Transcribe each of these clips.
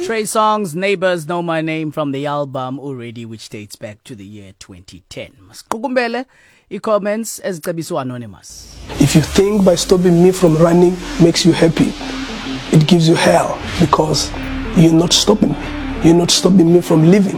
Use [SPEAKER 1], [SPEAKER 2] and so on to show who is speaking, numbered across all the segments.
[SPEAKER 1] Trey Songz, Neighbors Know My Name from the album Already, which dates back to the year 2010. Masiqukumbele i-comments ezicebiswa anonymous.
[SPEAKER 2] If you think by stopping me from running makes you happy, it gives you hell because you're not stopping me. You're not stopping me from living.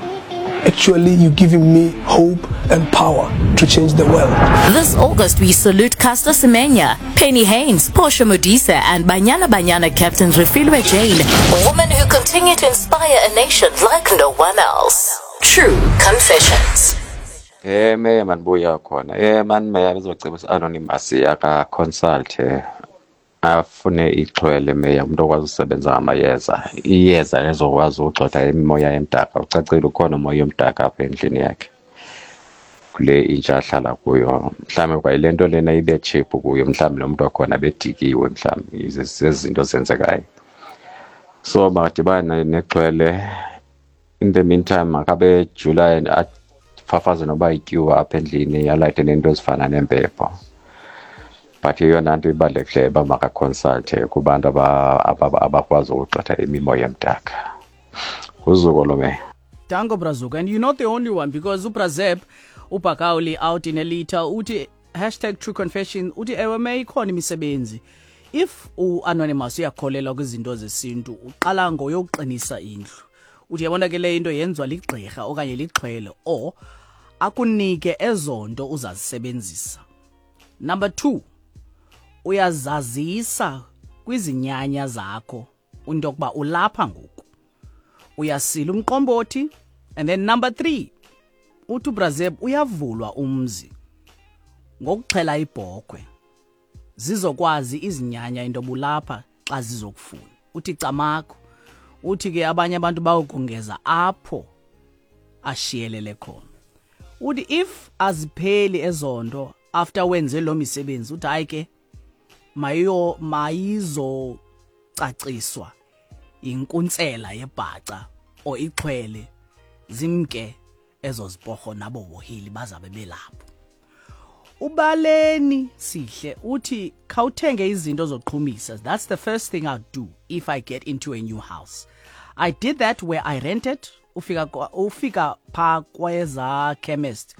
[SPEAKER 2] Actually, you're giving me hope and power to change the world.
[SPEAKER 3] This August, we salute Caster Semenya, Penny Haynes, Portia Modise, and Banyana Banyana captain Refilwe Jane, women who continue to inspire a nation like no one else. True Confessions.
[SPEAKER 4] Eh meya manibuya khona. Eh mani meya bezocebisa anonymous aka consult afune ixhwele meya umuntu okwazi usebenza ngamayeza. Iyeza lezokwazi ukugxotha imimoya emdaka. Ucacile ukhona umoya omdaka apha endlini yakhe. Kule intsha ahlala kuyo. Mhlawumbe kwayile nto lena ibe cheap kuyo mhlawumbe lo muntu wakhona bedikiwe mhlawumbe zezinto zenzekayo. So makadibane nexhwele in the meantime makabe jula afafaze noba ityuwa apha endlini alayite neento ezifana nempepho. But eyona nto ibalulekileyo uba makaconsulte kubantu abakwazi ukugxotha imimoya emdaka. Uzuko lo meya.
[SPEAKER 1] Danko Brazuka. And you're not the only one because uBrazeb uBhakawuli out in Elita uthi hashtag true confession uthi ewe me ikhona imisebenzi. If uanonymous uyakholelwa kwizinto zesintu uqala ngoyokuqinisa indlu. Uthi yabona ke le into yenziwa ligqirha okanye lixhwele or akunike ezonto uzazisebenzisa. Number 2 uyazazisa kwizinyanya zakho into yokuba ulapha ngoku uyasila umqombothi and then number 3 uthi uBrazeb uyavulwa umzi ngokuxhela ibhokhwe zizokwazi izinyanya into bulapha xa zizokufuna uthi camakho uthi ke abanye abantu bawukongeza apho ashiyelele khona uthi if azipheli ezonto after wenze lo misebenzi uthi hayi ke mayo mayizocaciswa inkuntsela yebhaca or ixhwele zimke ezo ziporho nabo wohili bazabe belapho. Ubaleni sihle uthi khawuthenge izinto zoqhumisa. That's the first thing I'd do if I get into a new house. I did that where I rented. Ufika ufika pha kweza chemist.